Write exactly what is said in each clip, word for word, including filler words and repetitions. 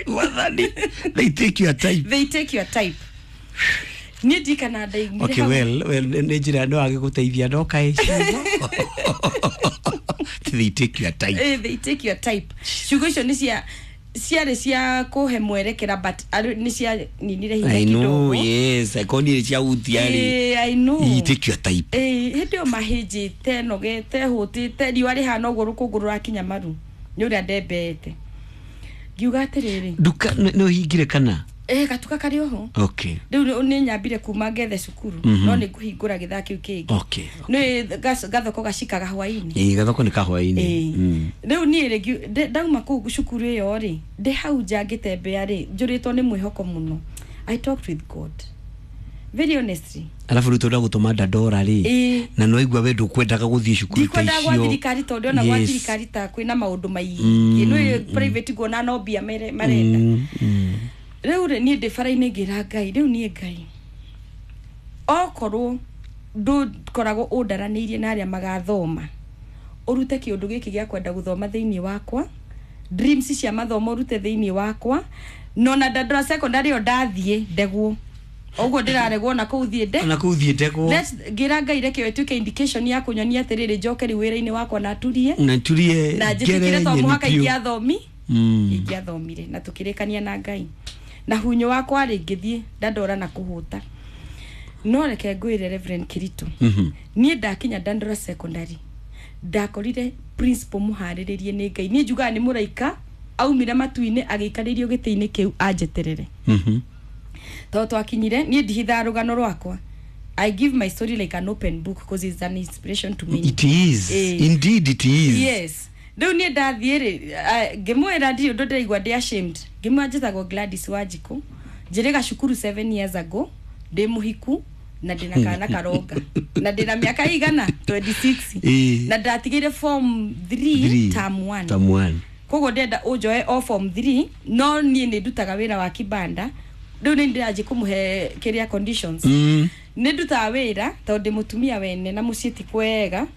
Wathani, they take your type. They take your type. Niĩ ndikana ndaigire Okay, hau. well well nĩ njĩra no agĩgũteithia no kaĩ ciugo "they take your type". Eh, they take your type. Ciugo icio nĩ cia ciarĩ cia kũhe mwerekera, but arĩ- nĩ cia ninire hinya I know. kidogo. Yes, akonire cia utia rĩ. Eh, I know. You take your type. Eh, hĩndĩ ĩyo mahĩnjĩte, nogete, hũtĩte, riũa rĩhana ũguo, rũkũngũ rũrakinya maru nĩ ũrĩa ndembeete, ngiuga atĩrĩrĩ, Nduka nĩ ũhingire kana? Eh, gatuka karĩ oho. Okay rĩu nĩ- nĩ nyambire kuma ngethe cukuru, Mhm. no nĩ ngũhingũra gĩthaa kĩu kĩngĩ. Okay nĩ gas- gathoko gacikaga hwainĩ. Ĩĩ, gathoko nĩ kahwainĩ. Ĩĩ. Mm. Rĩu niĩ rĩ, ngiu- ndĩ- ndauma kũu cukuru ĩyo rĩ, ndĩ hau nja ngĩtembea rĩ, njũrĩtwo nĩ mwĩhoko mũno. I talked with God very honestly. Arabu rĩu tũrenda gũtũma Dandora rĩ, Ĩĩ. na no igua we ndũkwendaga gũthiĩ cukuru ta Ndikwendaga gwa icio. thirikari tondũ ona gwa Yes. thirikari ta kwĩna maũndũ maingĩ. Mm, Nĩ private nguona no mbia mere- marenda. Mm, mm. Rĩu rĩ, niĩ ndĩ bara-inĩ ngĩra Ngai, rĩu niĩ Ngai, okorwo ndũkoragwo ũndaranĩirie na arĩa magathoma, ũrute kĩũndũ gĩkĩ gĩa kwenda gũthoma thĩinĩ wakwa, dreams cia mathomo ũrute thĩinĩ wakwa. No na Dandora Secondary ĩyo ndathiĩ ndegwo ũguo ndĩraregwo na kũu thiĩ nde Ona kũu thiĩ ndegwo. Let's- ngĩra Ngai reke ĩyo ĩtuĩke indication ya kũnyonia atĩrĩrĩ, njoke rĩu wĩra-inĩ wakwa na turie Na turie na ngere njĩtĩkĩre to nyeni mũhaka biũ. ingĩathomi Mm. ingĩathomire na tũkĩrĩkania na Ngai na hunyo wakwa rĩ, ngĩthiĩ Dandora na kũhũta. No reke ngwĩre, Reverend Kirito, Mhm. niĩ ndakinya Dandora Secondary ndakorire principal mũharĩrĩrie nĩ Ngai. Niĩ njugaga nĩ mũraika aumire matu-inĩ agĩikarĩrio gĩtĩ-inĩ kĩu anjeterere. Mhm. Tondũ twakinyire, niĩ ndihithaga rũgano rwakwa. I give my story like an open book because it's an inspiration to many. It is. Eh. Indeed it is. Yes. Rĩu niĩ ndathiĩ rĩ, ngĩmwĩra ndirĩ ũndũ ndĩraigua ndĩ ashamed. Ngĩmwĩra njĩtagwo Gladys Wanjikũ, njĩrĩga cukuru seven years ago, ndĩ mũhiku na ndĩna kana karonga na ndĩna mĩaka igana mĩrongo ĩrĩ na ithathatũ, Ĩĩ. na ndatigĩire form three Three. term one. Term one. Koguo ndĩrenda ũnjoe o form three, no niĩ nĩ ndutaga wĩra wa kibanda. Rĩu nĩ ndĩranjĩ kũmũhe kĩrĩa conditions. Mm. Nĩ ndutaga wĩra tondũ ndĩ mũtumia wene na mũciĩ ti kwega,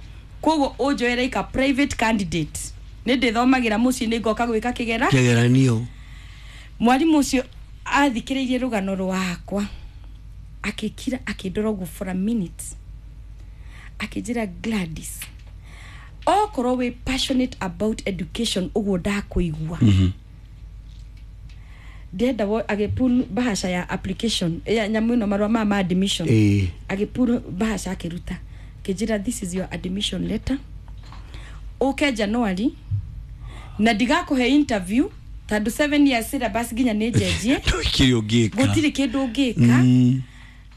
koguo ũnjoe like a private candidate, nĩ ndĩthomagĩra mũciĩ, nĩ ngoka gwĩka kĩgera Kĩgeranio. Mwarimũ ũcio athikĩrĩirie rũgano rwakwa, akĩkira, akĩndora ũguo for a minute, akĩnjĩra, "Gladys, okorwo wĩ passionate about education ũguo ndakũigua, Mhm. ndĩrenda wo-" Agĩpull bahasha ya application ya nyamũ ĩno, marũa ma ma admission. Ĩĩ. Agĩpull bahasha, akĩruta, akĩnjĩra, "This is your admission letter. Ũke January na ndigakũhe interview tondũ seven years syllabus nginya nĩ njenjie." Ndũkĩrĩ ũngĩka. Gũtirĩ kĩndũ ũngĩka Mm.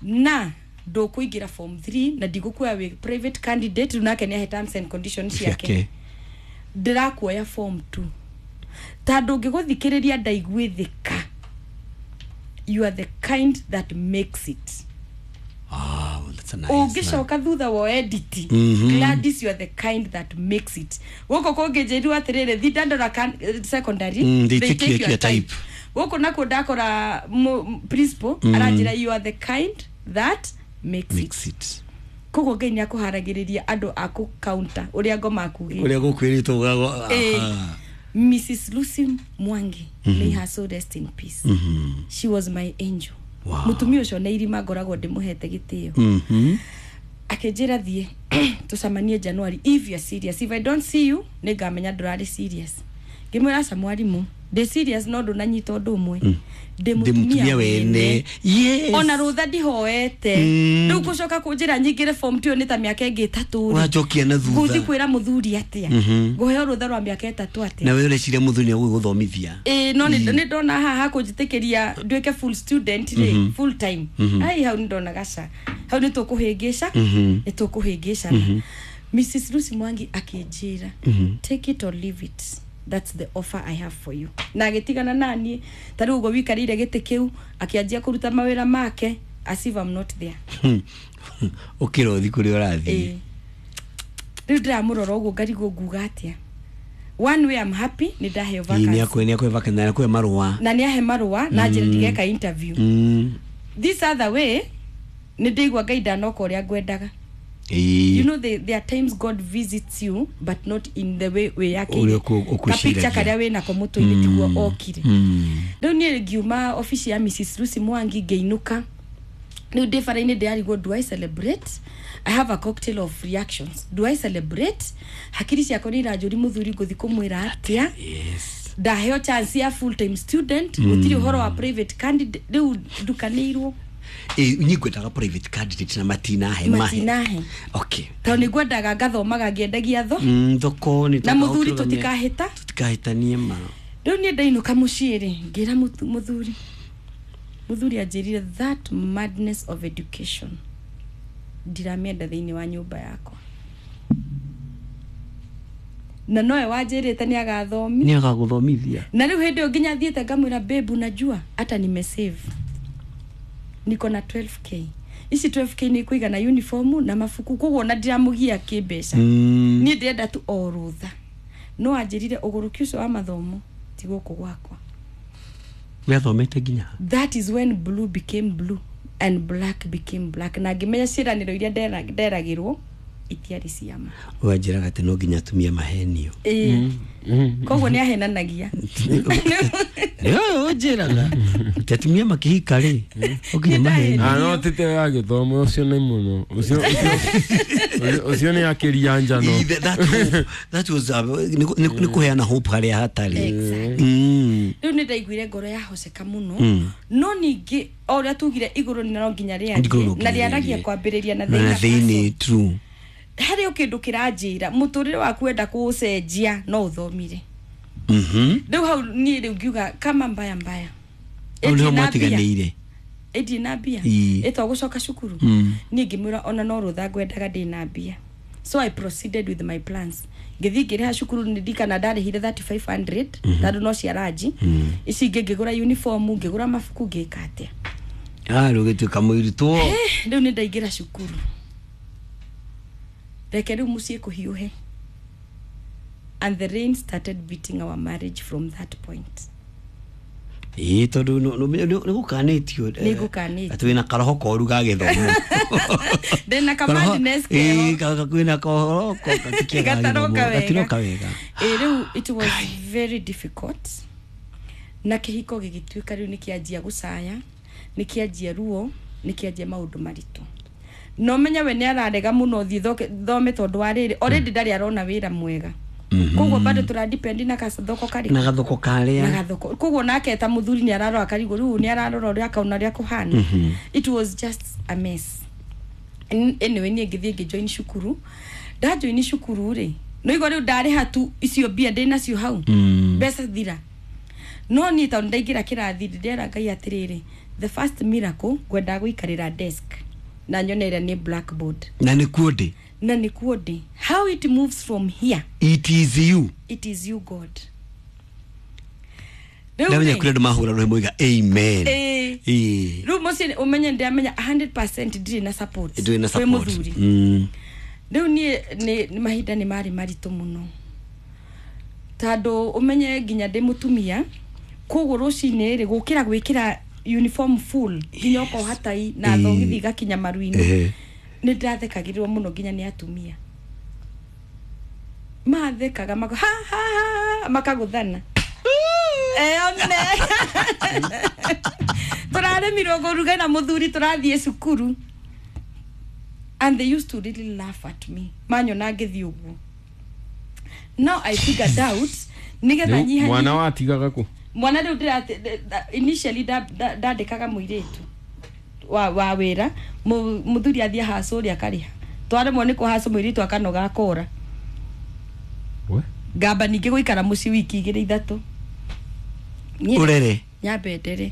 na ndũkũingĩra form three na ndigũkuoya wĩ private candidate. Rĩu nake nĩahe terms and conditions ciake. Ciake. Ndĩrakuoya form two tondũ ngĩgũthikĩrĩria ndaiguĩthĩka you are the kind that makes it. Wow, that's a nice one. Ũngĩcoka thutha wa edit, Mhm. Gladys, you are the kind that makes it. Gũkũ kũngĩ njĩrirwo atĩrĩrĩ, thi Dandora can- eh, Secondary, Mm, they take your- your type. Gũkũ nakuo ndakora mu- principal Mm. aranjĩra, "You are the kind that makes it." Makes it. Koguo Ngai nĩ akũharagĩrĩria andũ a kũ counter ũrĩa ngoma akugĩte. Ũrĩa gũkwĩrĩtwo ũgago. Eh, Missus Lucy Mwangi, may her soul rest in peace, Mhm. she was my angel. Wow. Mũtumia ũcio na irima ngoragwo ndĩmũhete gĩtĩo. Mhm. Akĩnjĩra, "Thiĩ tũcemanie January if you are serious. If I don't see you, nĩ ngamenya ndũrarĩ serious." Ngĩmwĩra, "Aca mwarimũ, ndĩ serious, no ndũnanyita ũndũ ũmwe, ndĩ Ndĩ mũtumia mũtumia wene." wene." Yes. Ona rũtha ndihoete. Mm. Rĩu gũcoka kũnjĩra nyingĩre form two nĩ ta mĩaka ĩngĩ ĩtatũ rĩ. Ũracokia na thutha. Ngũthiĩ kwĩra mũthuri atĩa? Mhm. Ngũheo rũtha rwa mĩaka ĩtatũ atĩa? Na we ũreciria mũthuri nĩ agũgũthomithia. Ĩĩ, no nĩ nĩ ndona haha kũnjĩtĩkĩria nduĩke full student rĩ, full time, ai, hau nĩ ndona gaca, hau nĩ tũkũhĩngĩca, Mhm. nĩ tũkũhĩngĩcana. Missus Lucy Mwangi akĩnjĩra, "Take it or leave it, that's the offer I have for you." Na agĩtigana naniĩ ta rĩu ũguo wikarĩire gĩtĩ kĩu, akĩanjia kũruta mawĩra make as if I'm not there. Ũkĩra ũthi kũrĩa ũrathiĩ. Ĩĩ. Rĩu ndĩramũrora ũguo ngarigwo nguga atĩa. One way, I'm happy nĩ ndaheo Ĩĩ, nĩ vacancy. akwe nĩ akwe vacancy na akwe marũa. Na nĩ ahe marũa na njĩra ndigeka interview. Mm. This other way, nĩ ndĩigua Ngai ndanoka ũrĩa ngwendaga. Ĩĩ. You know the, there are times God visits you but not in the way we Ũrĩa yakĩire ũkũ- ũkwĩciragia. kapicture karĩa wĩnako mũtwe-inĩ tiguo okire. Mm. Rĩu niĩ ngiuma obici ya Missus Lucy Mwangi ngĩinũka. Rĩu ndĩ bara-inĩ ndĩrarigwo, do I celebrate? I have a cocktail of reactions. Do I celebrate? Hakiri ciakwa nĩ iranjũri mũthuri ngũthi kũmwĩra atĩa? Yes. Ndaheo chance ya full time student, gũtirĩ ũhoro wa private candidate, rĩu ndukanĩirwo. Ĩ niĩ ngwendaga private candidate na matinahe mahe. Matinahe. Okay. Tondũ nĩ ngwendaga ngathomaga ngĩendagia tho Mm, thoko nĩ na mũthuri tũtikahĩta. Tutikahĩtanie ma. Rĩu niĩ ndainũka mũciĩ rĩ, ngĩra mũtu- mũthuri mũthuri anjĩrire that madness of education ndiramĩenda thĩinĩ wa nyũmba yakwa, na nowe wanjĩrĩte nĩ agathomi. Nĩ agagũthomithia. Na rĩu hĩndĩ ĩyo nginya thiĩte ngamwĩra, "Babe, unajua hata nimesave, niko na twelve k, ici twelve k nĩ kũigana uniform na mabuku." Koguo ona ndiramũgia kĩmbeca. Mm. Niĩ ndĩrenda tu o rũtha, no anjĩrire ũgũrũki ũcio wa mathomo ti gũkũ gwakwa. We athomete nginya ha? That is when blue became blue and black became black, na ngĩmenya ciĩranĩro iria ndera- nderagĩrwo itiarĩ ciama. We anjĩraga atĩ no nginya atumia mahenio. Ĩĩ, koguo nĩ ahenanagia. Nĩwe ũnjĩraga atĩ atumia makĩhika rĩ, no nginya mahenio. Ah, no tete ya gĩthomo ũcio nĩ mũno ũcio ũcio- ũcio nĩ akĩria njano. Ĩ, that- that hope- that was uh, nĩ nĩ- nĩ kũheana hope harĩa hatarĩ. Exactly. Mm. Rĩu nĩ ndaiguire ngoro yahoceka mũno. Mm. No ningĩ o ũrĩa tugire, igũrũ no nginya Igũrũ no rĩarie nginya na rĩaragia rĩarie. kwambĩrĩria na na thĩinĩ thĩinĩ, true. Harĩ o kĩndũ kĩranjĩra mũtũrĩre waku wenda kũũcenjia no ũthomire. Mhm. Rĩu hau niĩ rĩu ngiuga kama mbaya mbaya. Hau nĩho Ĩndirĩ na mbia. mwatiganĩire. Ĩndirĩ na mbia. Ii. Ĩtwa gũcoka cukuru. Mm. Niĩ ngĩmwĩra ona no rũtha ngwendaga ndĩ na mbia, so I proceeded with my plans, ngĩthiĩ ngĩrĩha cukuru. Nĩ ndikana ndarĩhire three thousand five hundred tondũ no cia ranji ici ingĩ, ngĩgũra uniform, ngĩgũra mabuku, ngĩka atĩa. Ah, rĩu gĩtuĩka mũirutwo. Eh, rĩu nĩ ndaingĩra cukuru. Reke rĩu mũciĩ kũhiũhe, and the rain started beating our marriage from that point. Ĩĩ, tondũ nĩ- nĩ nĩ gũkanĩtio eh, Nĩ ngũkanĩtio. atĩ wĩna karoho koru ga gĩthomo. Ndĩna kamadness Ĩĩ, keho. ka- ka- kwĩna kohoro ko- gatikia ga Gataroka gĩthomo, wega. gatiroka wega. Ĩ rĩu it was very difficult, na kĩhiko gĩgĩtuĩka rĩu nĩ kĩanjia gũcaya, nĩ kĩanjia ruo, nĩ kĩanjia maũndũ maritũ. No menya we nĩ ararega mũno thiĩ thoke- thome tondũ wa rĩrĩ already ndarĩ arona wĩra mwega, koguo bado tũradipendi na kathoko karĩ na gathoko na karĩa gathoko. Koguo nake ta mũthuri nĩ ararora karigũ rĩu nĩ ararora ũrĩa akaona ũrĩa kũhana. It was just a mess. N- anyway niĩ ngĩthiĩ ngĩjoin cukuru. Ndajoin cukuru rĩ, no igua rĩu ndarĩha tu icio mbia ndĩ nacio hau. Mm. Mbeca thira, no niĩ tondũ ndaingĩra kĩrathi ndĩrera Ngai atĩrĩrĩ, the first miracle ngwendaga gũikarĩra desk na nyone ĩrĩa nĩ blackboard. Na nĩ kuo ndĩ. Na nĩ kuo ndĩ. How it moves from here, it is you. It is you, God. Rĩu ndamenya rĩ, kũrĩ andũ mahũra rũhĩ moiga amen. Ĩĩ. Ĩĩ. Rĩu mũciĩ ũmenye ndĩramenya hundred percent ndirĩ na support ndũrĩ na kwĩ support. mũthuri. Mm. Rĩu niĩ nĩ nĩ mahinda nĩ marĩ maritũ mũno tondũ ũmenye nginya ndĩ mũtumia, koguo rũcinĩ rĩ gũkĩra gwĩkĩra uniform full nginya ũkoha tai na Ĩĩ. thogithi igakinya maru-inĩ. Ehe. Nĩ ndathekagĩrĩrwo mũno nginya nĩ atumia mathekaga mako ha ha ha makagũthana. Eh, one tũraremirwo kũruga na mũthuri tũrathiĩ cukuru, and they used to really laugh at me manyona ngĩthiĩ ũguo. Now I figured out nĩgetha Rĩu nyiha mwana watigaga kũ? Mwana rĩu ndĩrate initially nda- nda- ndandĩkaga mũirĩtu wa, wa wĩra. Mu- mũthuri athiĩ hacu ũrĩa akarĩha, twaremwo nĩ kũhacu mũirĩtu akanoga akora. We? Ngamba ningĩ gũikara mũciĩ wiki igĩrĩ ithatũ. Niĩ- ũrere. Nyambe ndere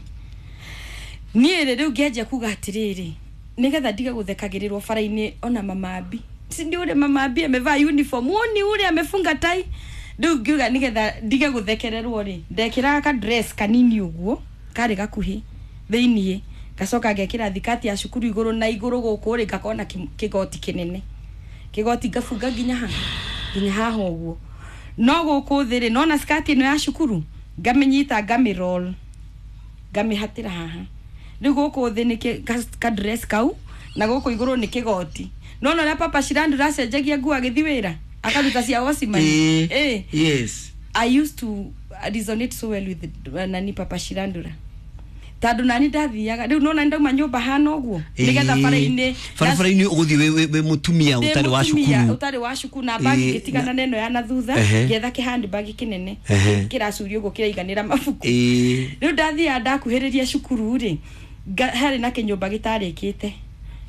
niĩ rĩ, rĩu ngĩanjia kuga atĩrĩrĩ, nĩgetha ndige gũthekagĩrĩrwo bara-inĩ ona mamambi si ndio ule mamambi amevaa uniform, woni ule amefunga tai. Rĩu ngiuga nĩgetha ndige gũthekererwo rĩ, ndekĩraga ka dress kanini ũguo karĩ gakuhĩ thĩiniĩ, ngacoka ngekĩra thikati ya cukuru igũrũ, na igũrũ gũkũ rĩ ngakorwo na kĩ- kĩgoti kĩnene, kĩgoti ngabunga nginya ha nginya haha ũguo, no gũkũ thĩ rĩ nona skati ĩno ya cukuru ngamĩnyita, ngamĩroll, ngamĩhatĩra haha. Rĩu gũkũ thĩ nĩ kĩ- ka- ka dress kau Na gũkũ igũrũ nĩ kĩgoti. Nona ũrĩa Papa Shirandula acenjagia nguo agĩthiĩ wĩra akaruta cia wocimani. Eh, Eh. yes. I used to resonate so well with uh, nani Papa Shirandula tondũ nani ndathiaga rĩu nona ndauma nyũmba hana ũguo nĩgetha Eh, bara-inĩ barabara-inĩ ũgũthiĩ wĩ- wĩ wĩ mũtumia Ndĩ ũtarĩ wa mũtumia cukuru. ũtarĩ wa cukuru na bagi Eh, ngĩtigana na ĩno ya na thutha, Ehe. ngĩetha kĩhandbag kĩnene Ehe. kĩracurio ũguo kĩraiganĩra mabuku. Eh, Rĩu ndathiaga ndakuhĩrĩria cukuru rĩ, nga- harĩ na kĩnyũmba gĩtarĩkĩte,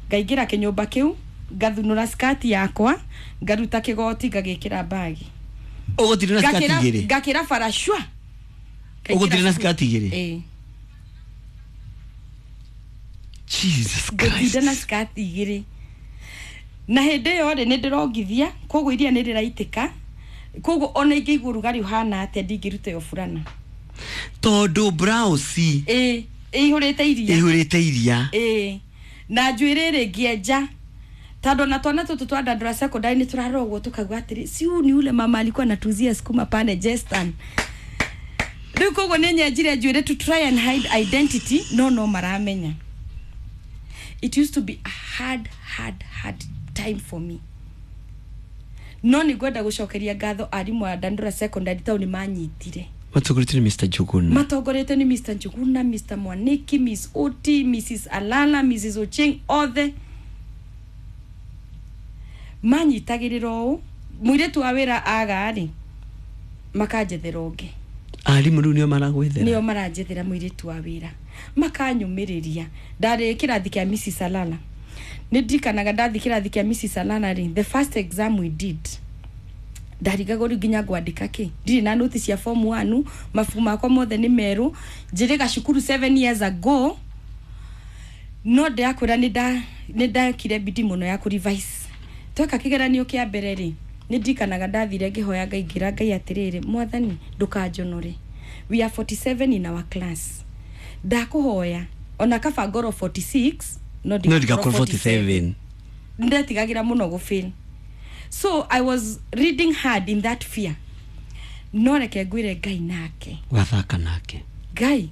ngaingĩra kĩnyũmba kĩu, ngathunũra skati yakwa, ngaruta kĩgoti, ngagĩkĩra bagi. Ũgũthiĩ na skati Ngakĩra- igĩrĩ? Ngakĩra bara shwa. Ũgũthiĩ na skati igĩrĩ? Ĩĩ. Jesus Ngũtinda na Christ. skati igĩrĩ, na hĩndĩ ĩyo rĩ, nĩ ndĩrongithia, koguo iria nĩ rĩraitĩka, koguo ona ingĩigua ũrugarĩ ũhana atĩa, ndingĩruta ĩyo burana. Tondũ blouse Ĩĩ, ĩihũrĩte iria. Ĩihũrĩte iria. Ĩĩ, na njuĩrĩ rĩ, ngĩenja tondũ ona twana tũtũ twa Dandora Secondary nĩ tũrarora ũguo tũkauga atĩrĩ, si huyu ni ule mama alikuwa anatuuzia sukuma pale Jestan? Rĩu koguo nĩ nyenjire njuĩrĩ to try and hide identity, no no maramenya. It used to be a hard, hard, hard time for me, no nĩ ngwenda gũcokeria ngatho arimũ a Dandora Secondary tondũ nĩ manyitire. Matongoretio nĩ Mister Njuguna. Matongoretio nĩ Mister Njuguna, Mister Mwaniki, Miss Oti, Missus Alala, Missus Ocheng, othe manyitagĩrĩra ũũ mũirĩtu wa wĩra aga rĩ, makanjethera ũngĩ. Arimũ rĩu nĩo maragwethera? Nĩo maranjethera mũirĩtu wa wĩra, makanyũmĩrĩria. Ndarĩ kĩrathi kĩa Missus Alala, nĩ ndirikanaga ndathi kĩrathi kĩa Missus Alala rĩ, the first exam we did, ndarigagwo rĩu nginya ngwandĩka kĩ, ndirĩ na noti cia form one, mabuku makwa mothe nĩ merũ, njĩrĩga cukuru seven years ago, no ndĩrakwĩra nĩ nda nĩ ndekire bidii mũno ya kũ-revise. Tweka kĩgeranio kĩa mbere rĩ, nĩ ndirikanaga ndathire ngĩhoya Ngai, ngĩra Ngai atĩrĩrĩ, "Mwathani, ndũkanjonore, we are forty-seven in our class, ndakũhoya ona kaba ngorwo forty-six no no ndigakorwo ndigakorwo forty-seven." Ndetigagĩra mũno gũfail, so I was reading hard in that fear, no reke ngwĩre, Ngai nake wathaka nake. Ngai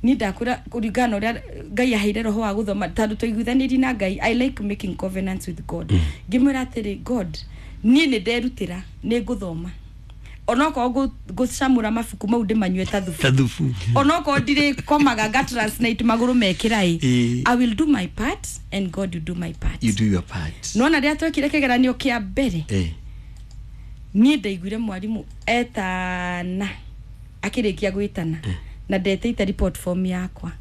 ni ndakwĩra, kũringana na ũrĩa Ngai aheire roho wa gũthoma, tondũ twaiguithanĩrie na Ngai, I like making covenants with God, ngĩmwĩra atĩrĩ, "God, niĩ nĩ nderutĩra, nĩ ngũthoma onokorwo ngũ- ngũcamũra mabuku mau ndĩmanyue ta thubu, ta thubu, onokorwo ndirĩkomaga nga translate magũrũ mekĩra ĩ, Ĩĩ. I will do my part and God will do my part." You do your part. Nona rĩrĩa twekire kĩgeranio kĩa mbere, eh niĩ ndaiguire mwarimũ etana, akĩrĩkia gwĩtana na ndetĩite report form yakwa,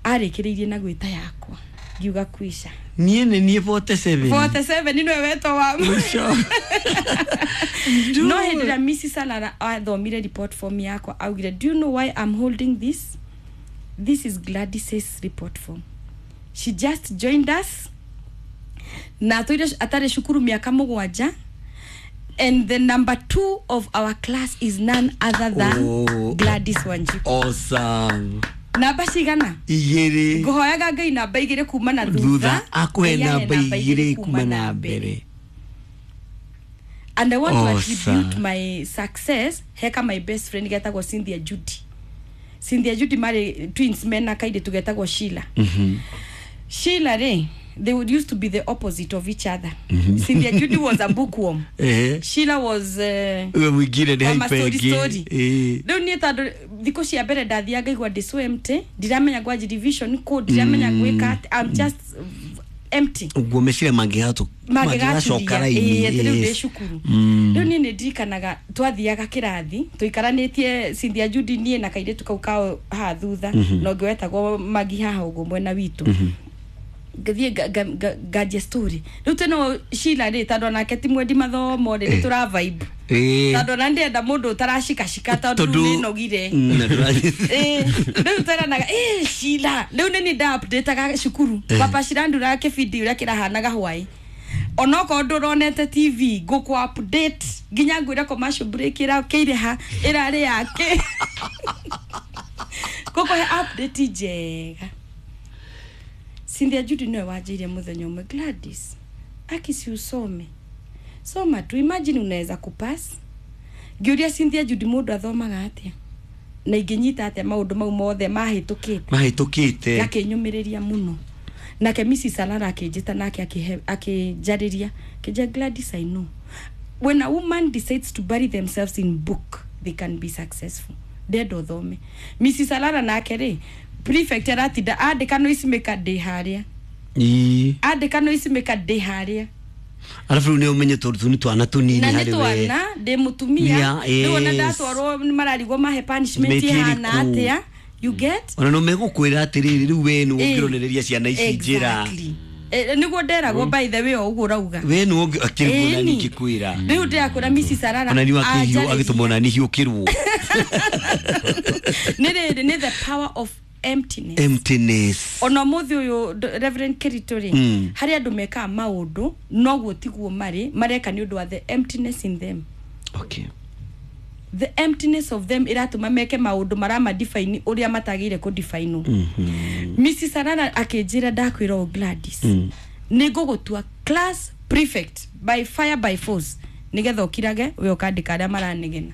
arĩkĩrĩirie na gwĩta yakwa, ngiuga kwisha. Niĩ nĩ niĩ forty-seven. forty-seven nĩwe wetwo wa Mũico. No hĩndĩ ĩrĩa Missus Alara athomire report form yakwa, augire, "Do you know why I'm holding this? This is Gladys's report form. She just joined us na atũire atarĩ cukuru mĩaka mũgwanja, and the number two of our class is none other than Oh. Gladys Wanjiku." Awesome. Namba cigana? Igĩrĩ. Ngũhoyaga Ngai namba igĩrĩ kuma na thutha, thutha, akũhe Ngai ahe namba igĩrĩ kuma na mbere. And I want to Awesome. attribute my success heka my best friend getagwo Cynthia Judy. Cynthia Judy marĩ twins mena kairĩtu getagwo Sheila. Mhm. Sheila rĩ, they would used to be the opposite of each other. Cynthia Judy was a bookworm. Eh Sheila was uh, we mwingine nĩ Mama hyper story story. ĩngĩ. Rĩu niĩ tondũ thikũ cia mbere ndathiaga ngaigua ndĩ so empty, ndiramenya gwanji revision kũ, ndiramenya gwĩka atĩ, I'm just empty. Ũguo meciria mangĩgatũ mangĩgacoka raini. Atĩ rĩu ndĩ Yes. cukuru. Mm. Rĩu niĩ nĩ ndirikanaga twathiaga kĩrathi tũikaranĩtie, Cynthia Judy, niĩ na kairĩtu kau kao haha thutha, na ũngĩ wetagwo Magi haha ũguo mwena witũ, ngathiĩ nga- nga- nga- nganjia story. Rĩu twĩno Sheila rĩ, tondũ onake ti mwendi mathomo rĩ, nĩ tũra vibe, Ĩĩ. tondũ ona ndĩrenda mũndũ ũtaracikacika, tondũ rĩu nĩ nogire. Mm, na ndũra- Ĩĩ, rĩu tweranaga, "Ĩ Sheila," rĩu nĩ niĩ nda updateaga cukuru Papa Shirandula kĩbindi ũrĩa kĩrahanaga hwaĩ, onokorwo ndũronete T V, ngũkũ update nginya ngwĩre commercial break ĩrakĩire ha, ĩrarĩ yake, ngũkũhe update njega. Cynthia Judy nĩwe wanjĩire mũthenya ũmwe, "Gladys, aki si usome, soma tu, imagine unaweza kupass." Ngĩũria Cynthia Judy, mũndũ athomaga atĩa na ingĩnyita atĩa maũndũ mau mothe mahĩtũkĩte? Mahĩtũkĩte. Gakĩnyũmĩrĩria mũno. Nake Missus Alara akĩnjĩta nake akĩhe- akĩnjarĩria, akĩnjĩra, "Gladys, I know when a woman decides to bury themselves in book, they can be successful. Ndenda ũthome." Missus Alara nake rĩ, prefect aratinda andĩka noise maker ndĩ harĩa. Ii. Andĩka noise maker ndĩ harĩa. Arabu rĩu nĩ ũmenye tondũ tũ nĩ twana tũnini Na nĩ harĩ we. twana, ndĩ mũtumia. Yeah, Rĩu ona yes. ndatwarwo nĩ mararigwo mahe punishment Mĩti ĩhana ĩrĩkũ? atĩa, you get? Ona no megũkwĩra atĩrĩrĩ, rĩu we nĩ Eh, ũngĩronereria ciana ici njĩra. Exactly. Eh, nĩguo nderagwo, by the way, o ũguo ũrauga. We nĩ ũngĩ akĩrĩguo na Ĩni. ngĩkwĩra. Rĩu ndĩrakũra Missus Arara Ona niĩ akĩhiũ anjarĩria. agĩtũma ona niĩ hiũkĩrwo. Nĩ rĩrĩ, nĩ the power of emptiness. Emptiness. Ona ũmũthĩ ũyũ, d- Reverend Kirito rĩ, Mm. harĩ andũ mekaga maũndũ noguo tiguo marĩ mareka nĩ ũndũ wa the emptiness in them. Okay. The emptiness of them ĩratũma meke maũndũ maramadefine ũrĩa matagĩrĩire kũdefinwo. Missus Arara akĩnjĩra, "Ndakwĩra o Gladys, Mm. nĩ ngũgũtua class prefect by fire by force, nĩgetha ũkirage we ũkandĩka arĩa maranegena."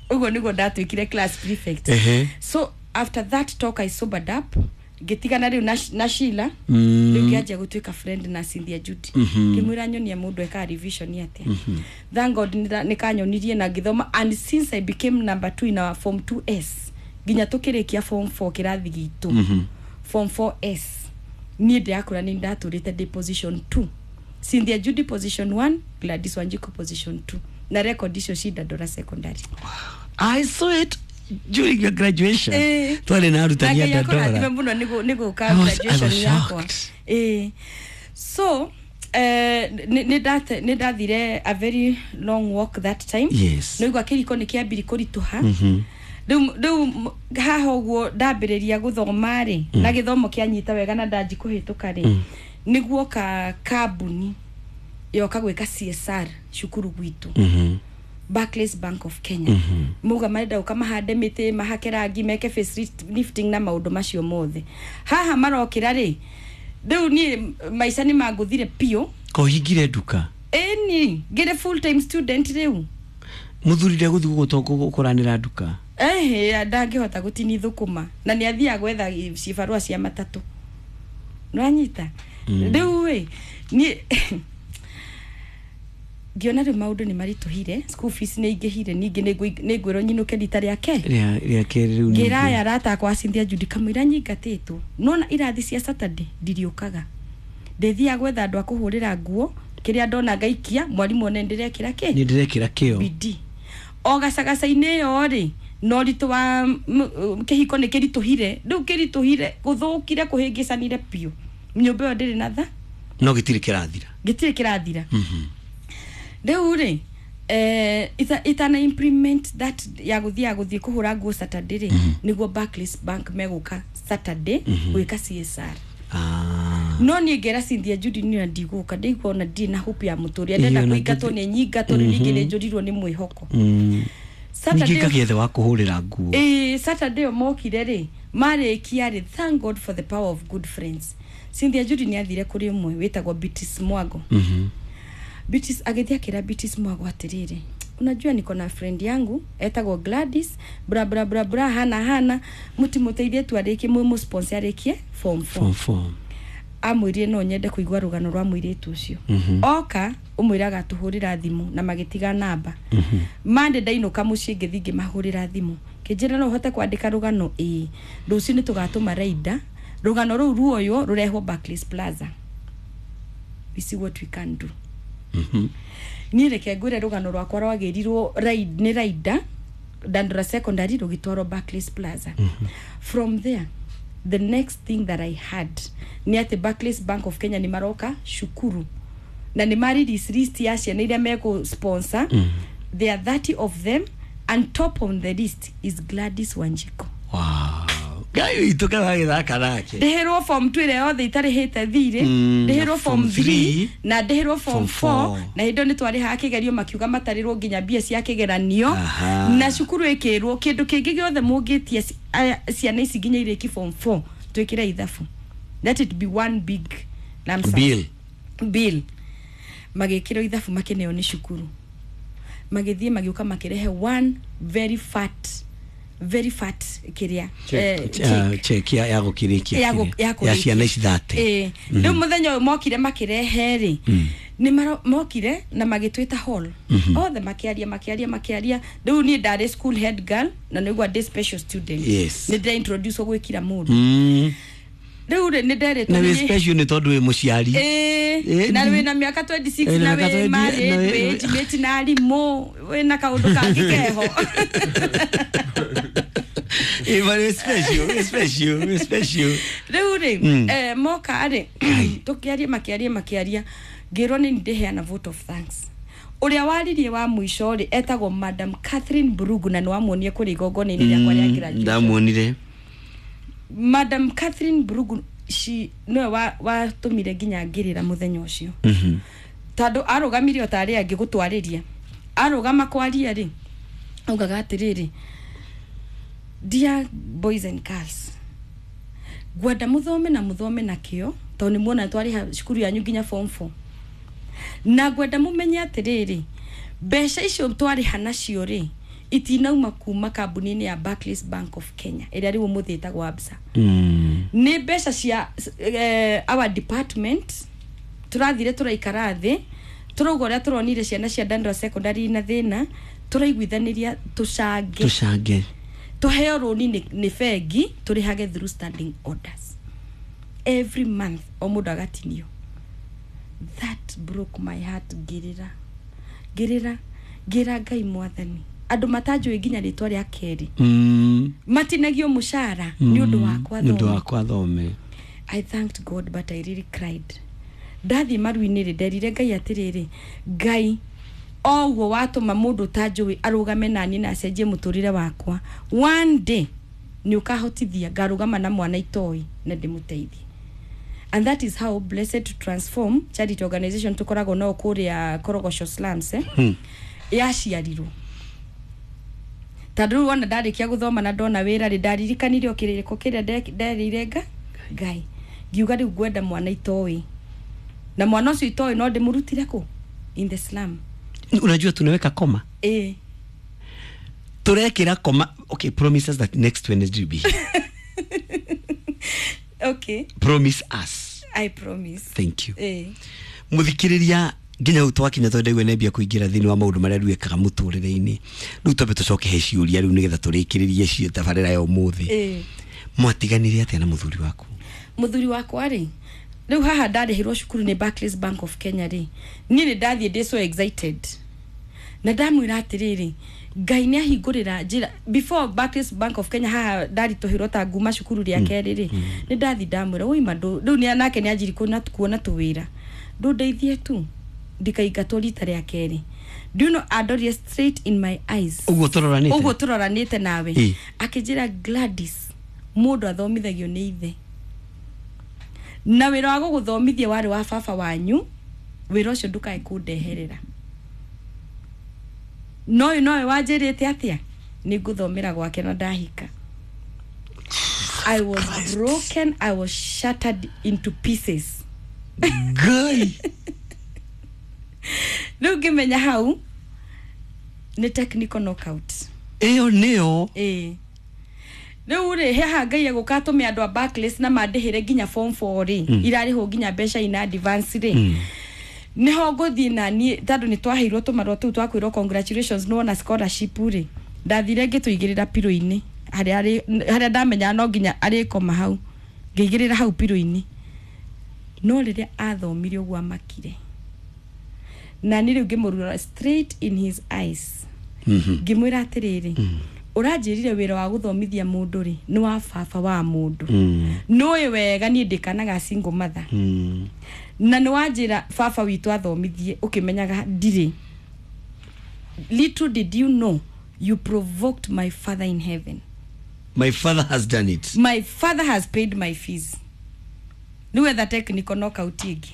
Ũguo nĩguo ndatuĩkire class prefect. Ehe. So after that talk I sobered up, ngĩtigana rĩu na, na Sheila. Mm. Rĩu ngĩanjia gũtuĩka friend na Cynthia Judy. Mhm. Ngĩmwĩra nyonia mũndũ ekaga revision atĩa. Thank God nĩ nĩ kanyonirie na ngĩthoma, and since I became number two in our form two S nginya tũkĩrĩkia form four kĩrathi gitũ, Mhm. form four S, niĩ ndĩrakũra nĩ ndatũrĩte ndĩ position two, Cynthia Judy position one, Gladys Wanjiku position two, na record icio ci Dandora Secondary. I saw it during your graduation. Eh. Twarĩ na arutani a Na Ngai akũrathime Dandora. mũno nĩ nĩ gũka I was- I graduation was yakwa. shocked. Ĩĩ. So eh, nĩ nĩ ndate- nĩ ndathire a very long walk that time. Yes. Nĩigua kĩriko nĩ kĩambiri kũritũha. Mhm. Rĩu rĩu m- haha ũguo ndambĩrĩria gũthoma rĩ, na gĩthomo kĩanyita wega na ndanji kũhĩtũka rĩ, nĩguoka kambuni yoka gwĩka C S R cukuru gwitũ. Mhm. Barclays Bank of Kenya. Mauga marenda gũka mahande mĩtĩ, mahake rangi, meke face lifting na maũndũ macio mothe. Haha marokĩra rĩ, rĩu niĩ maica nĩ mangũthire biũ. Kohingire nduka? Ĩni, ngĩrĩ full time student rĩu. Mũthuri ndegũthiĩ gũkũranĩra nduka? Ehe, ndangĩhota gũtinia thũkũma na nĩ athiaga gwetha cibarũa cia matatũ, nĩwanyita? Rĩu ĩ, niĩ ngĩona rĩu maũndũ nĩ maritũhire, school fees nĩ ingĩhire, ningĩ nĩ ngwĩrwo nyinũke rita rĩake rĩa rĩa kerĩ rĩu ningĩ. Ngĩraya arata akwa a Cynthia Judy, kamũira nyingatĩtwo nona irathi cia Saturday ndiriũkaga, ndĩthiaga gwetha andũ a kũhũrĩra nguo, kĩrĩa ndona ngaikia, mwarimũ one ndĩrekĩra kĩ. Nĩ ndĩrekĩra kĩo. Bidii o gacagaca-inĩ ĩyo rĩ, na ũritũ wa m- kĩhiko nĩ kĩritũhire, rĩu kĩritũhire, gũthũkire, kũhĩngĩcanire biũ, nyũmba ĩyo ndĩrĩ na tha. No gĩtirĩ kĩrathira. Gĩtirĩ kĩrathira. Rĩu rĩ, eh, ita, itana implement that ya gũthiaga gũthiĩ kũhũra nguo Saturday rĩ, nĩguo Barclays Bank megũka Saturday gwĩka C S R. Ah. No niĩ ngera Cynthia Judy niĩ ndigũka, ndĩigua ona ndirĩ na hope ya mũtũrĩre, ndenda Ĩyo na kũingatwo gĩthi- nĩ nyingatwo rĩu, ningĩ nĩ njũrirwo nĩ mwĩhoko. Mm. Saturday Ningĩ ngagĩethe wa kũhũrĩra nguo. Ĩĩ, Saturday ĩyo mokire rĩ, marĩkia rĩ, thank God for the power of good friends, Cynthia Judy nĩ athire kũrĩ ũmwe wĩtagwo Beatrice Mwago. Mhm. Beatrice agĩthiĩ akĩra Beatrice Mwago atĩrĩrĩ, "Unajua niko na friend yangu etagwo Gladys, bra bra bra bra, hana hana, mũtimũteithie tu arĩkie, mũmũ arĩkie form four." Form four. Amwĩrire no nyende kũigua rũgano rwa mũirĩtu ũcio. Oka ũmwĩraga atũhũrĩra thimũ na magĩtiga namba. Mande ndainũka mũciĩ, ngĩthiĩ ngĩmahũrĩra thimũ, kĩnjĩra no ũhote kwandĩka rũgano? Ĩĩ, rũciũ nĩ tũgatũma raida, rũgano rũu ruoywo rũrehwo Barclays Plaza. We see what we can do. Mhm. Niĩ reke ngwĩre, rũgano rwakwa rwagĩrirwo raid- nĩ raida Dandora Secondary rũgĩtwarwo Barclays Plaza. From there, the next thing that I had nĩ atĩ Barclays Bank of Kenya nĩ maroka cukuru na nĩ ma release list ya ciana iria mekũ sponsor. There are thirty of them, and top on the list is Gladys Wanjiko. Wow. Ngai witũ karagĩthaka nake. Ndĩhĩrwo form two ĩrĩa yothe itarĩhĩte thirĩ. Mm, Ndĩhĩrwo na form form three three, na ndĩhĩrwo form form four. four. Na hĩndĩ ĩyo nĩ twarĩhaga kĩgerio, makiuga matarĩrwo nginya mbia cia kĩgeranio. Aha. Na cukuru ĩkĩrwo kĩndũ kĩngĩ gĩothe mũngĩtia ci- aya- ciana ici nginya irĩki form four, twĩkĩre ithabu, let it be one big lump sum. Bill. Bill magĩkĩrwo ithabu, makĩneo nĩ cukuru, magĩthiĩ magĩũka makĩrehe one very fat Very fat kiria Check. eh, Ah, check ya ya gũkĩrĩkia ya gũ- kĩrĩa. ya ya kũrĩkia. ciana ici thate. Ĩĩ. Rĩu mũthenya ũyũ mokire makĩrehe rĩ, nĩ maro- mokire na magĩtwĩta hall othe, makĩaria makĩaria makĩaria. Rĩu niĩ ndarĩ school head girl na nĩguo ndĩ special student. Yes. Nĩ ndĩra introduce gwĩ kila mũndũ. Mm. Rĩu rĩ, nĩ nderetwo Na wĩ nĩ- special nĩ tondũ wĩ mũciari. Ĩĩ, Ĩĩ, na ndi- wĩna mĩaka mĩrongo ĩrĩ na ĩtandatu, Ĩĩ, na na mĩaka wĩ mĩrongo ĩrĩ married, na wĩ wĩ- intimate na arimũ, wĩna kaũndũ kangĩ keho. Ĩĩ, but wĩ special, wĩ special, wĩ special. Rĩu rĩ, Mm. eh, moka rĩ, tũkĩaria makĩaria makĩaria, ngĩrwo nĩ ndĩheana vote of thanks. Ũrĩa waririe wa mũico rĩ, etagwo Madam Catherine Brugu, na nĩ wamuonie kũrĩ igongona-inĩ rĩakwa rĩa graduation. Ndamuonire. Madam Catherine Brugu, she nĩwe wa- watũmire nginya ngĩrĩra mũthenya ũcio, Mhm. tondũ arũgamire o ta arĩa angĩ gũtwarĩria. Arũgama kwaria rĩ, augaga atĩrĩrĩ, "Dear boys and girls, ngwenda mũthome na mũthome na kĩo, tondũ nĩ muona twarĩha cukuru yanyu nginya form four, na ngwenda mũmenye atĩrĩrĩ, mbeca icio twarĩha nacio rĩ, itinauma kuma kambuni-inĩ ya Barclays Bank of Kenya ĩrĩa rĩu ũmũthĩ ĩtagwo Absa. Mm. Nĩ mbeca cia eh, our department. Tũrathire tũraikara thĩ, tũrauga ũrĩa tũronire ciana cia Dandora Secondary na thĩna, tũraiguithanĩria tũcange, tũcange, tũheo rũni nĩ nĩ bengi, tũrĩhage through standing orders every month, o mũndũ agatinio." That broke my heart. Ngĩrĩra, ngĩrĩra, ngĩra Ngai, "Mwathani, andũ matanjũĩ nginya rĩtwa rĩa kerĩ Mm. matinagio mũcara nĩ ũndũ wakwa nĩ ũndũ thome." wakwa thome. I thanked God, but I really cried. Ndathiĩ maru-inĩ rĩ, nderire Ngai atĩrĩrĩ, "Ngai, o ũguo watũma mũndũ ũtanjũĩ arũgame naniĩ na acenjie mũtũrĩre wakwa, one day nĩ ũkahotithia ngarũgama na mwana itoĩ na ndĩmũteithie." And that is how Blessed to Transform Charity Organization tũkoragwo nao kũrĩa Korogocho slums, eh? Hmm. Yaciarirwo tondũ rĩu wona ndarĩkia gũthoma na ndona wĩra rĩ, ndaririkanire o kĩrĩko kĩrĩa nde- nderĩire nga Ngai, ngiuga rĩu ngwenda mwana itoĩ, na mwana ũcio itoĩ no ndĩmũrutire kũ in the slum. Unajua tunaweka koma. Ĩ. Turekira koma. Okay, promise us that next Wednesday you'll be here. Okay. Promise us. I promise. Thank you. Ĩ. Muthikiriria, nginya hau twakinya tondu ndaigua nembia kũingĩra thĩinĩ wa maũndũ marĩa rĩu ekaga mũtũrĩre-inĩ. Rĩu twambe tũcoke he ciũria rĩu nĩgetha tũrĩkĩrĩrie cio tabarĩra ya ũmũthĩ. Ĩ. Mwatiganire atĩa na mũthuri waku? Mũthuri wakwa rĩ, rĩu haha ndarĩhĩrwo cukuru nĩ Barclays Bank of Kenya rĩ, niĩ nĩ ndathiĩ ndĩ so excited na ndamwĩra atĩrĩrĩ, Ngai nĩ ahingũrĩra njĩra. Before Barclays Bank of Kenya, haha ndaritũhĩrwo ta nguma cukuru rĩa kerĩ rĩ, nĩ ndathi ndamwĩra, "Ũima ndũ rĩu nĩ nake nĩ anjiri kuona kuona tũwĩra, ndũndeithie tu ndikaingatwo rita rĩa kerĩ." Do you know, andorire straight in my eyes. Ũguo tũroranĩte. Ũguo tũroranĩte nawe. Ĩ. Akĩnjĩra, "Gladys, mũndũ athomithagio nĩ ithe, na wĩra wa gũgũthomithia warĩ wa baba wanyu. Wĩra ũcio ndũkae kũndeherera. No ũyũ nowe wanjĩrĩte atĩa nĩ ngũthomera gwake na ndahika." I was broken. I was shattered into pieces. Ngai. Rĩu ngĩmenya hau nĩ technical knockout. Ĩyo nĩyo. Ĩĩ, rĩu rĩ, haha Ngai egũka atũme andũ a Barclays na mandĩhĩre nginya form four rĩ, irarĩhwo nginya mbeca ina advance rĩ, niho ngũthiĩ na niĩ, tondũ nĩ twaheirwo tũmarũa tũu twakwĩrwo congratulations, nĩwona scholarship rĩ, ndathire ngĩtũigĩrĩra pillow-inĩ harĩa arĩ- harĩa ndamenyaga no nginya arĩkoma hau, ngĩigĩrĩra hau pillow-inĩ. No rĩrĩa athomire ũguo amakire, na niĩ rĩu ngĩmũrora straight in his eyes, ngĩmwĩra atĩrĩrĩ, "Ũranjĩrire wĩra wa gũthomithia mũndũ rĩ, nĩ wa baba wa mũndũ. Nĩũĩ wega niĩ ndĩkanaga single mother, na nĩ wanjĩra baba witũ athomithie ũkĩmenyaga ndirĩ. Little did you know you provoked my father in heaven." My father has done it. My father has paid my fees. Rĩu etha technical knockout ĩngĩ.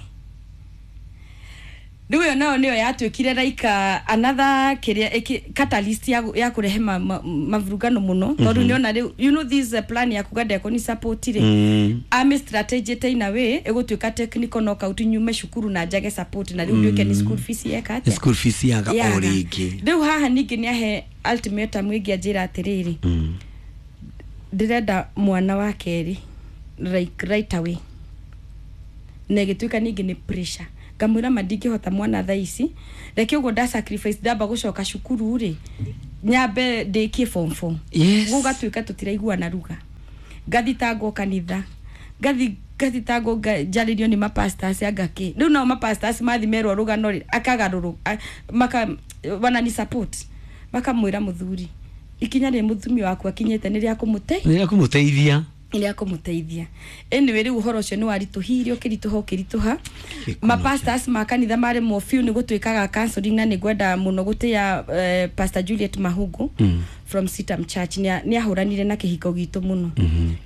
Rĩu ĩyo nayo nĩyo yatuĩkire like uh, another kĩrĩa ĩkĩ- catalyst ya, ya kũrehe ma, ma, mavurugano mũno, tondũ nĩona rĩu, you know this uh, plan ya kuga ndekũni support rĩ, Mm. ame strategy in a way ĩgũtuĩka technical knockout, nyume cukuru na njage support, na rĩu nduĩke nĩ school fees yeka atĩa? School fees yaga o Yaga. rĩngĩ. Rĩu haha ningĩ nĩ ahe ultimatum ĩngĩ, anjĩra atĩrĩrĩ, Ndĩrenda mwana wa kerĩ like right away, na ĩgĩtuĩka ningĩ nĩ pressure. Ngamwĩra ma ndingĩhota mwana thaa ici, reke ũguo nda sacrifice, ndamba gũcoka cukuru rĩ, nyambe ndĩkie form four. Yes. Gũgatuĩka tũtiraiguana ruga, ngathitangwo kanitha, ngathi ngathitangwo, nga- njarĩrio nĩ mapastors, anga kĩ. Rĩu nao mapastors mathi merwo rũgano rĩ, akagarũrũ a- maka wanani support, makamwĩra mũthuri ikinya rĩ mũtumia waku akinyĩte nĩ rĩa kũmũte Nĩ rĩa kũmũteithia. Nĩ rĩa kũmũteithia. Anyway, rĩu ũhoro ũcio nĩ waritũhire, ũkĩritũha, ũkĩritũha. Gĩkuno. Mapastors ma kanitha maremwo biũ nĩ gũtwĩkaga counseling, na nĩ ngwenda mũno gũtĩa eh, Pastor Juliet Mahungu Mm. from Sitam Church. Nĩ nĩ ahũranire na kĩhiko gitũ mũno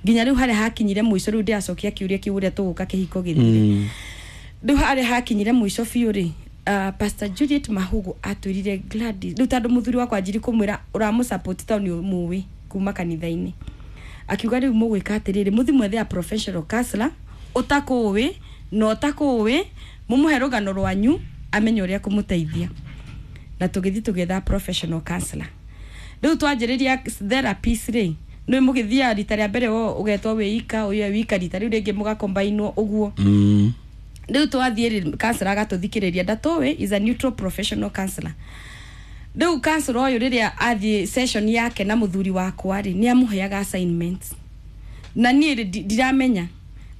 nginya rĩu harĩa hakinyire mũico. Rĩu ndĩracokia kĩũria kĩu, ũrĩa tũgũka kĩhiko gĩthire. Mm. Rĩu harĩa hakinyire mũico biũ rĩ, uh, Pastor Juliet Mahugu atwĩrire Gladys, rĩu tondũ mũthuri wakwa anjiri kũmwĩra ũramũsupport tondũ nĩ mũĩ kuma kanitha-inĩ, akiuga rĩu mũgwĩka atĩrĩrĩ, mũthi mwethe a professional counselor ũtakũĩ na ũtakũĩ, mũmũhe rũgano rwanyu amenye ũrĩa kũmũteithia. Na tũgĩthiĩ tũgĩetha professional counselor. Rĩu twanjĩrĩria therapies rĩ, nĩ mũgĩthiaga rita rĩa mbere wo ũgetwo wĩika ũyũ wika, rita rĩu rĩngĩ mũgakombainwo ũguo. Mm. Rĩu twathiĩ rĩ, counselor agatũthikĩrĩria, ndatũĩ, is a neutral professional counselor. Rĩu counselor ũyũ rĩrĩa athiĩ session yake na mũthuri wakwa rĩ, nĩ amũheaga assignments, na niĩ rĩ, ndi- ndiramenya,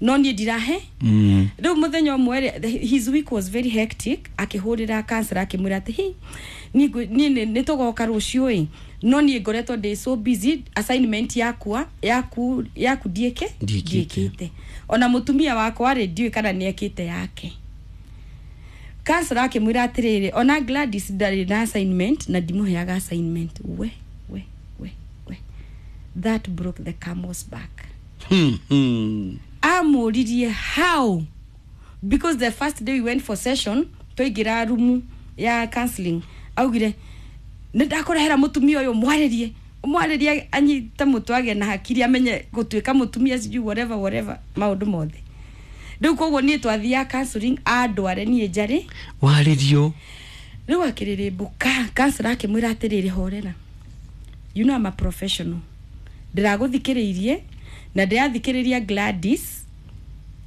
no niĩ ndirahe. Mm. Rĩu mũthenya ũmwe rĩ, his week was very hectic, akĩhũrĩra counselor akĩmwĩra atĩ hi niĩ ngwĩ- niĩ nĩ- nĩ tũgoka rũciũ ĩ, no niĩ ngoretwo ndĩ so busy, assignment yakwa yaku yaku ndiĩke. Ndiĩkĩte. Ndiĩkĩte, ona mũtumia wakwa rĩ, ndiũĩ kana nĩ ekĩte yake. Counselor akĩmwĩra atĩrĩrĩ, ona Gladys ndarĩ na assignment na ndimũheaga assignment. We we we we, that broke the camel's back. Hmm. Hmm. Amũririe how, because the first day we went for session, twaingĩra rumu ya counseling, augire nĩ ndakũrehera mũtumia ũyũ, mwarĩrie, mwarĩrie anyite mũtwe, agĩe na hakiri, amenye gũtuĩka mũtumia, sijui whatever whatever, maũndũ mothe. Rĩu koguo niĩ twathiaga counseling andware niĩ njarĩ. Warĩrio. Rĩu akĩrĩrĩmbũka, counselor akĩmwĩra atĩrĩrĩ, horera, you know I'm a professional, ndĩragũthikĩrĩirie na ndĩrathikĩrĩria Gladys,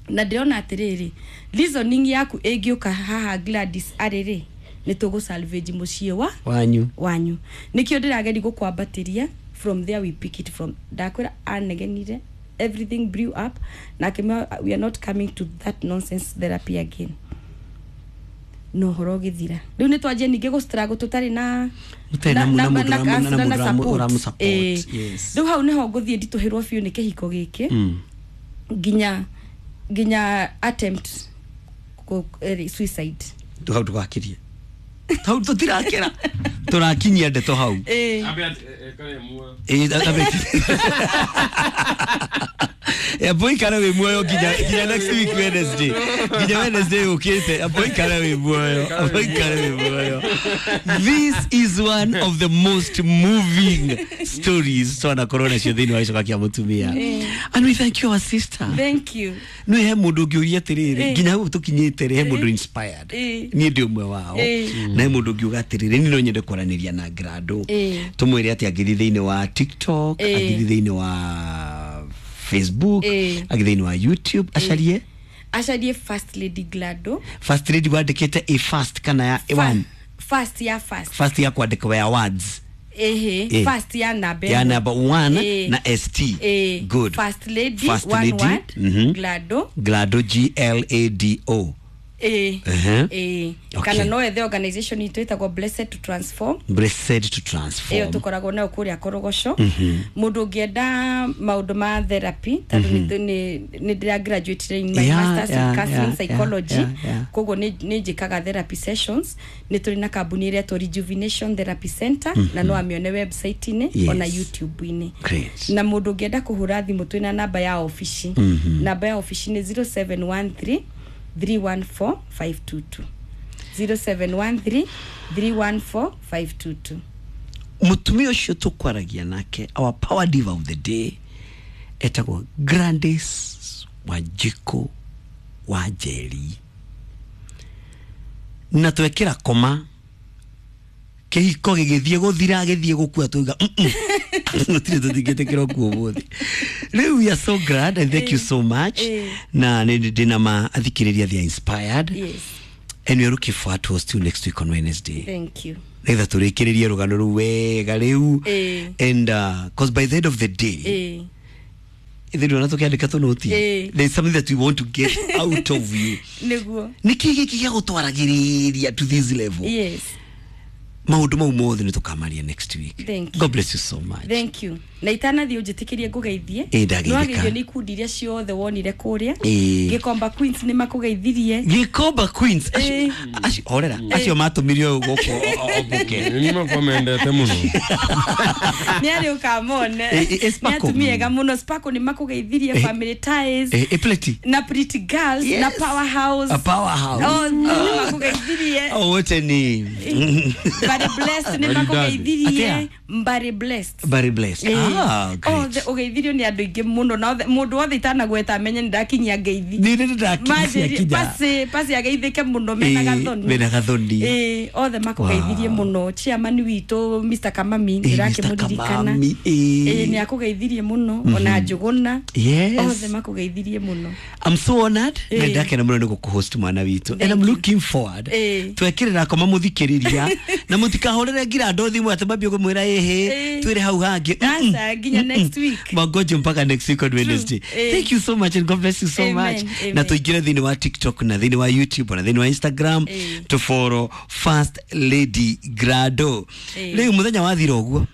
na ndĩrona atĩrĩrĩ, reasoning yaku ĩngĩũka haha Gladys arĩ rĩ, nĩ tũgũ salvage mũciĩ wa wanyu. Wanyu. Nĩkĩo ndĩrageria gũkwambatĩria, from there we pick it from. Ndakwĩra anegenire, everything blew up, na akĩmwĩra we are not coming to that nonsense therapy again, no ũhoro ũgĩthira. Rĩu nĩ twanjie ningĩ gũ struggle tũtarĩ na Mũtarĩ na- na mũndũ na ũramu- counselor na na mũndũ ũramu- support. ũramu-support, Ĩĩ. Yes. Rĩu hau nĩho ngũthiĩ nditũhĩrwo biũ nĩ kĩhiko gĩkĩ Mm. nginya nginya attempt kũ- eh, suicide. Hau ndũgakirie, hau tũtirakĩra, tũrakinyia ndeto hau. Ĩĩ. Ĩĩ, abe- Amba ũikare wĩ muoyo nginya nginya next week Wednesday, nginya Wednesday ũkĩte. Amba ũikare wĩ muoyo, amba ũikare wĩ muoyo. This is one of the most moving stories twanakorwo nacio thĩinĩ wa gĩcoka kĩa mũtumia, and we thank you, our sister. Thank you. No he mũndũ ũngĩũria atĩrĩrĩ, Eh. nginya hau tũkinyĩte rĩ, he mũndũ inspired? Eh. Niĩ ndĩ ũmwe wao. Eh. Na he mũndũ ũngiuga atĩrĩrĩ, niĩ no nyende kwaranĩria na Grado, Eh. tũmwĩre atĩ angĩthiĩ thĩinĩ wa TikTok, Eh. angĩthiĩ thĩinĩ wa Facebook, Eh. angĩthiĩ thĩinĩ wa YouTube, acarie? Acarie First Lady Glado. First Lady wandĩkĩte a first kana ya one? First ya first. First ya kwandĩkwo ya words? Ehe. Eh. First ya namba ya ĩmwe. number one. Eh. Na st. Eh, Good. First Lady, First one Lady, word, mhm. Glado. Glado, G L A D O. Eh, Uh-huh. eh. Okay. Kana no ethe organization itũ ĩtagwo Blessed to Transform. Blessed to Transform. Ĩyo tũkoragwo nayo kũrĩa Korogoco. Mũndũ ũngĩenda maũndũ ma therapy, tondũ nĩ- nĩ nĩ ndĩra graduate in my Yeah, masters yeah, in counseling yeah, psychology, yeah, yeah. koguo nĩ nĩ njĩkaga therapy sessions. Nĩ tũrĩ na kambuni ĩrĩa ĩtwo Rejuvenation Therapy Center, na no amĩone website-inĩ Yes. ona YouTube-inĩ. Great. Na mũndũ ũngĩenda kũhũra thimũ, twĩna namba ya obici. Namba ya obici nĩ zero seven one three three one four five two two, zero seven one three three one four five two two. Mutumia ũcio tũkwaragia nake, our power diva of the day, etagwo Grandis Wanjikũ wa Njeri, na twekĩra koma kĩhiko gĩgĩthiĩ gũthira, gĩthiĩ gũkua, tuiga "Mm-mm." Gũtirĩ tũtingĩtĩkĩra ũkuo ũmũthĩ. Rĩu we are so glad and thank you so much. Eh. Na nĩ ndĩna ma athikĩrĩria, they are inspired Yes. and we are looking forward to host you next week on Wednesday, Thank you. nĩgetha tũrĩkĩrĩrie rũgano rũu wega rĩu. Eh. And uh, cause by the end of the day, Eh. ithuĩ ndona tũkĩandĩka tũnoti, Eh. there is something that we want to get out of you. Nĩguo. Nĩ kĩ gĩkĩ gĩa gũtwaragĩrĩria to this level? Yes. Maũndũ mau mothe nĩ tũkamaria next week. Thank you. God bless you so much. Thank you. Na itanathiĩ ũnjĩtĩkĩrie ngũgeithie. Ĩ, ndageithĩka. Nĩwageithio nĩ ikundi iria ciothe wonire kũrĩa. Ĩ. Gĩkomba Queens nĩ makũgeithirie. Gĩkomba Queens acio, Eh. acio horera, acio matũmire ũyũ gũkũ ombũke. Nĩ makwa mendete mũno. Nĩ arĩ ũkamone. Ĩ, ĩ, ĩ, Nĩ Sparkle. atumia ega mũno. Sparkle nĩ makũgeithirie, Eh. Family Ties Eh, eh, Pleti. na Pretty Girls Yes. na Powerhouse. A Powerhouse. Othe nĩ makũgeithirie. Oh, wote ni Mbari Blessed nĩ Maridadi. makũgeithirie. Atĩa? Mbari Blessed. Very blessed. Ĩ. Ah, great. Othe ũgeithirio nĩ andũ aingĩ mũno, na othe- mũndũ wothe itanagweta amenye nĩ ndakinyia ngeithi. Nĩ nĩ ndakinyia Manjĩrie- kinya. pasi pasi ageithĩke mũno mena Ĩ, gathoni. mena gathoni. Ĩ, othe makũgeithirie Wow. mũno. Chairman witũ Mister Kamami Ĩ, Mister ndĩrakĩmũririkana. Kamami, ĩ. Ĩ, nĩ akũgeithirie mũno, ona Njũgũna. Yes. Othe makũgeithirie mũno. I'm so honored. Ĩ. Na ndakena mũno nĩ gũkũhost mwana witũ and Thank I'm you. looking forward. Ĩ. Twekĩrĩra koma mũthikĩrĩria na mũtikahũrĩre ngira andũ thimũ atĩ mambie kũmwĩra ĩhĩ Ĩ. twĩre hau hangĩ. Mm-mm. Aca, nginya next week. Mangoje mpaka next week on Wednesday. Ĩ. Thank you so much and God bless you so Amen, much. amen. Na tũingĩre thĩinĩ wa TikTok na thĩinĩ wa YouTube na thĩinĩ wa Instagram Ĩ. to follow First Lady Grado. Ĩ. Rĩu mũthenya wathira ũguo,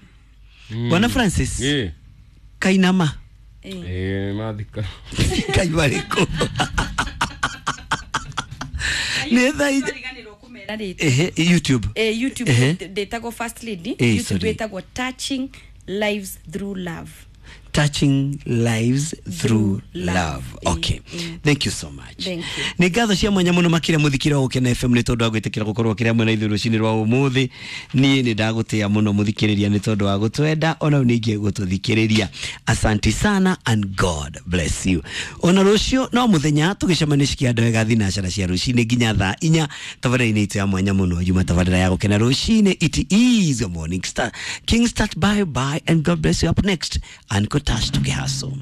Bwana Francis. Ĩ. Kainama. Ĩ. Ĩ, mathika. Kaima rĩkũ nĩ thaa inya. Twariganĩrwo kũmera rĩtwa. Ehe, YouTube. Eh, YouTube Ehe. ndĩtagwo First Lady. Eh, YouTube sorry. ĩtagwo Touching Lives Through Love. Touching Lives Through Through Love. Love. Okay. Mm. Thank you so much. Thank you. Nĩ ngatho cia mwanya mũno makĩria mũthikĩra wa Gũkena F M nĩ tondũ wa gwĩtĩkĩra gũkorwo kĩrĩa mwena ithuĩ rũcinĩ rwa ũmũthĩ. Niĩ nĩ ndagũtĩa mũno mũthikĩrĩria nĩ tondũ wa gũtwenda ona rĩu ningĩ gũtũthikĩrĩria. Asante sana and God bless you. Ona rũciũ no mũthenya tũgĩcemania cikia wega thinacara cia rũcinĩ nginya thaa inya tabarĩra-inĩ itũ ya mwanya mũno yuma tabarĩra ya Gũkena rũcinĩ. It is your morning star King Start. Bye bye and God bless you. Up next, Anko Tash tukihaso.